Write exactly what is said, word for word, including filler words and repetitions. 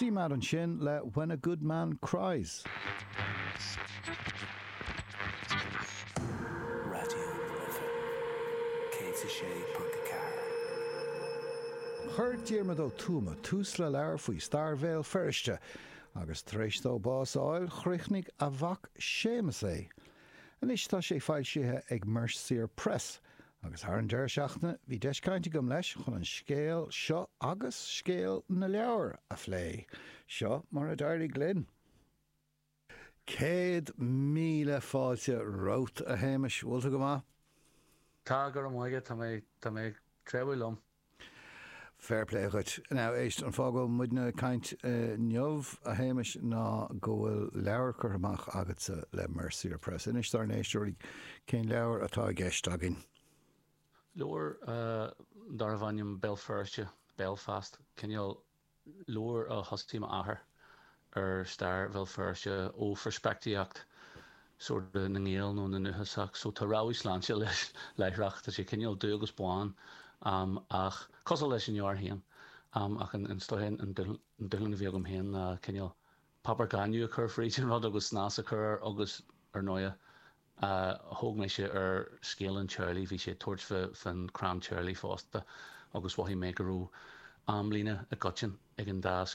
CMAD ansin le When a Good Man Cries. Raidió na Life céad a sé ponc a ceathair. Chuir Diarmuid Ó Tuama tús le leabhar faoi stair Bhéal Feirste agus tar éis dó bás a fháil, chríochnaigh a mhac Séamus é. Anois tá sé foilsithe ag Mercier Press agus thar an deireadh seachtaine bhí deis cainte agam leis chun an scéal seo agus scéal na leabhar a phlé. Seo mar a d'éirigh linn. Céad míle fáilte romhat, a Shéamais, bhfuil tú go maith? Tá, go raibh maith agat, tá mé, tá mé ag treabhadh liom. Fair play dhuit. Now, éist, an fáth go bhfuil muidne ag caint inniu, a Shéamais, ná go bhfuil leabhar curtha amach agatsa le Mercier Press. Inis dár n-éisteoirí cén leabhar atá i gceist againn. Leabhar darbh ainm Béal Feirste, Belfast, cineál leabhar a thosaigh m'athair ar stair Bhéal Feirste ó pheirspictíocht sort of na nGael nó na ndúchasach. So tá rabhadh sláinte leis láithreach, tá sé cineál dubh agus bán ach cosúil leis an leabhar féin. Ach an an dúshlán a bhí agam féin ná cineál páipéar gainimh a chur fríd an rud agus snas a chur air agus ar ndóighe thóg mise ar scéal an teaghlaigh, bhí sé ag tabhairt fán chrann teaghlaigh fosta agus mhothaigh mé go raibh amlíne i gcoiteann ag an dá scéal.